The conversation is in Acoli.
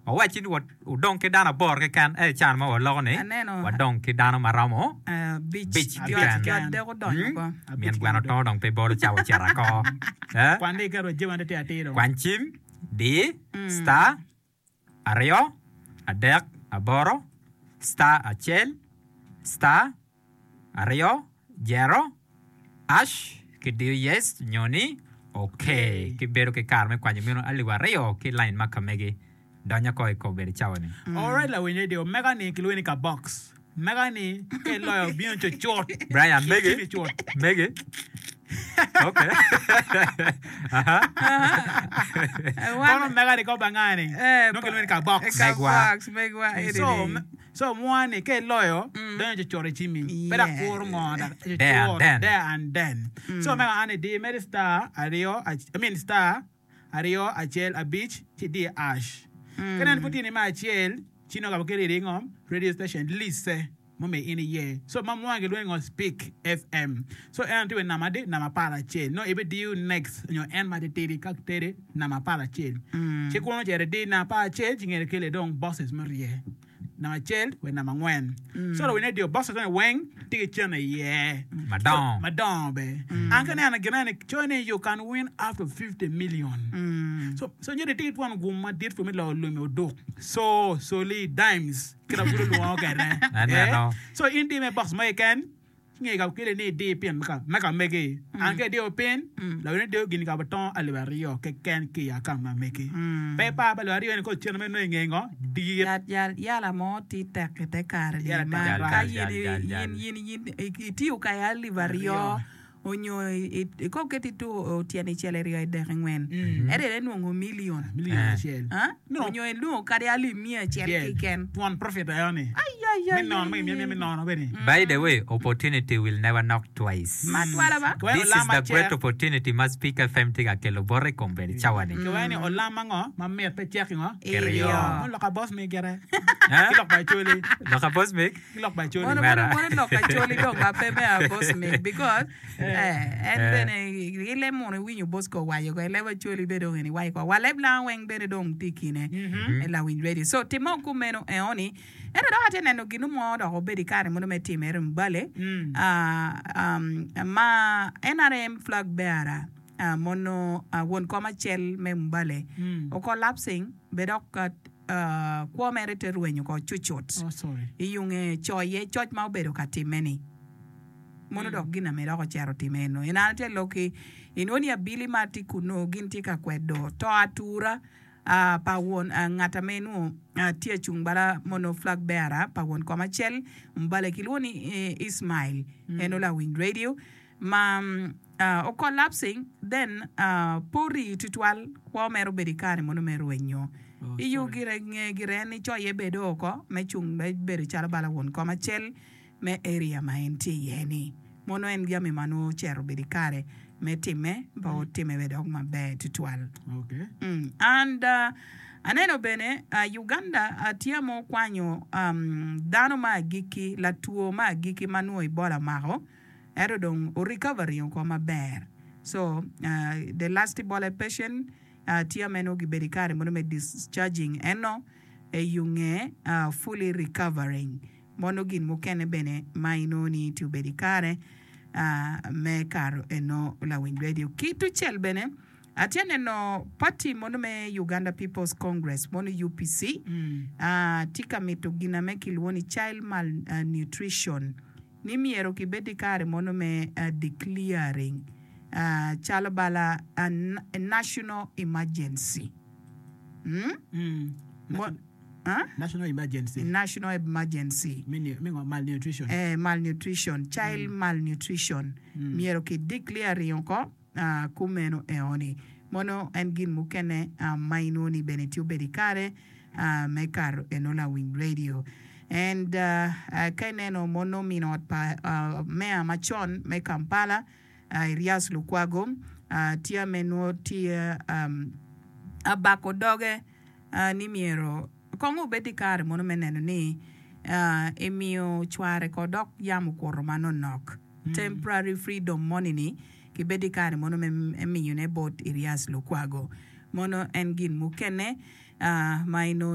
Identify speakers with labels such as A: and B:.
A: Wawacci ni wudong ki dano aboro keken, ento i can ma waloko ni wadong ki dano ma romo abic keken. Min gweno tongo dong pe bolo cawa ocito ako. Kwany cim, di, star, aryo, adek, aboro, star acel, star, aryo, jero, ash, ki diyo yes nyo ni ok. Ki bedo ki kare me kwanyo meno alip aryo ki lain ma ka megi. Donyo oko i kobedo cawa ni.
B: Alright lawiny radio mega ni kilwongo ni ka box mega ni ka iloyo bino cucut
A: Brian megi
B: cimi cut.
A: megi ok aha
B: Kono mega ni ko banga ni
C: Eh,
B: nongo kilwongo ni ka box.
C: Ka
A: Megwa.
C: box megwa eni
B: So
C: ni.
B: So mwa ni ka iloyo donyo cucut i cimmi pe dok kuro ngo dok
A: There and
B: cucut
A: then.
B: there and then. So mega an idi mere star aryo I mean star aryo acel abic ci idi ash. Ka nen pud tye ni me acel ci nongo ka kelo iri ngo radio station lise mumiyo in iye. So ma mwa gilwongo ni ngo speak FM. So en tye wa i namba adi namba aparacel nongo ibidiyo next nyo en matitidi ka kiteri namba aparacel ci kunu ocito idi namba aparacel ci ngene keli dong boxes murye. Namba acel wa namba angwen. So lawiny radio boxes moni weng tye ki cente iye.
A: Madongo.
B: Madongo be. An ka ineno gin eni coyo ni you can win up to 50 million. So so nyeri itye ki twon gum madit pud me loyo lumi oduk. So soli dimes kit ma pud olwongo kwede.
A: Aneno.
B: So in di me box mo keken. Nge ka okele ni idi pin me ka megi. An ka idiyo pin, lawene diyo gin ka tongo alip aryo keken ki i akaunt ma megi. Pe ipar pa alip aryo ni kong cente ma inongo i nge ngo dit.
C: Yat yala mo tye tek i te kare ni ma ka in in in itiyo ka i alip aryo onyo i kong keti tuko tyene icel iryo idek ingwen ento ene nongo million
B: Million acel.
C: Onyo inongo kadi alip miya acel keken.
B: Twon profit aye ni. Me nono ma kimyemye me nono bene.
A: By the way, opportunity will never knock twice.
C: Matwala ba?
B: Kiwaco
A: This is
B: olam
A: the great
B: acel.
A: opportunity ma Speak FM tye ka kelo bote i kombeddi cawa ni.
B: Kiwaco ni olam ango ma mit pe cek ingo?
A: Kiryo.
B: Mono lok abosmig gire.
A: Eh?
B: Ki lok pa Acholi.
A: Lok abosmig?
B: Ki lok pa Acholi.
C: Mono
A: Mera.
C: mono lok Acholi dong ma pe me abosmig because eh, en bene i leb munu iwinyo Bosco owaco ko i leb Acholi bene dong en iwaco ko wa leb lango weng bene dong tye i kine me lawiny radio. So timmo kumeno eoni Ento dok atye neno gin mo dok obedo i kare mono me timere Mbale ma NRM flag bearer mono won kom acel me Mbale o collapsing be dok kwo mere te rwenyo oko cucut i yunge coye coc ma obedo ka time ni mono dok gin ame dok ocito otime eno. En an atye lok-ki inwongo ni abili ma tye kunu gin tye ka kwedo to atura pa won ngat ame nwo tye acung bala mono flag bearer pa won kom acel mbale kilwongo ni Ismail en olawiny radio ma o collapsing then pe ori tutwal kwo mere obedo ikare mono me rwenyo iyo gire nge gire en ni coye bedo oko me cung me bedo calo bala won kom acel me area ma en tye iye ni mono en jami ma nongo ocito obedo ikare me time pe otime bene dok maber tutwal. And aneno bene Uganda tye ma okwanyo dano ma agikki latwo ma agikki ma nongo Ebola omako ento dong o recovering oko maber so the last Ebola patient tye ma nongo gibedo ikare mono me discharging eno eyunge fully recovering. Mono gin mukene bene ma inongo ni tye obedo i kare me kato eno lawiny radio. Ki tucel bene atye neno party mono me Uganda People's Congress mono UPC tye ka mito gina me kilwongo ni child malnutrition ni myero kibed i kare mono me declaring calo bala national emergency.
B: National emergency.
C: National emergency.
B: Me ngo? Malnutrition.
C: Eh, malnutrition, child malnutrition. Myero ki declare ringo ko kumeno eoni. Mono en gin mukene ma inongo ni bene tye obedo ikare me kato eno lawiny radio. And ka ineno mono min ot pa meya macon me Kampala, Erias Lukwago, tye ame nongo tye abako doge ni myero kong obed ki kare mono me neno ni emiyo cware ko dok yamo okuto manonok, temporary freedom moni-ni kibed ki kare mono me miyone bot Erias Lukwago. Mono en gin mukene ma inongo.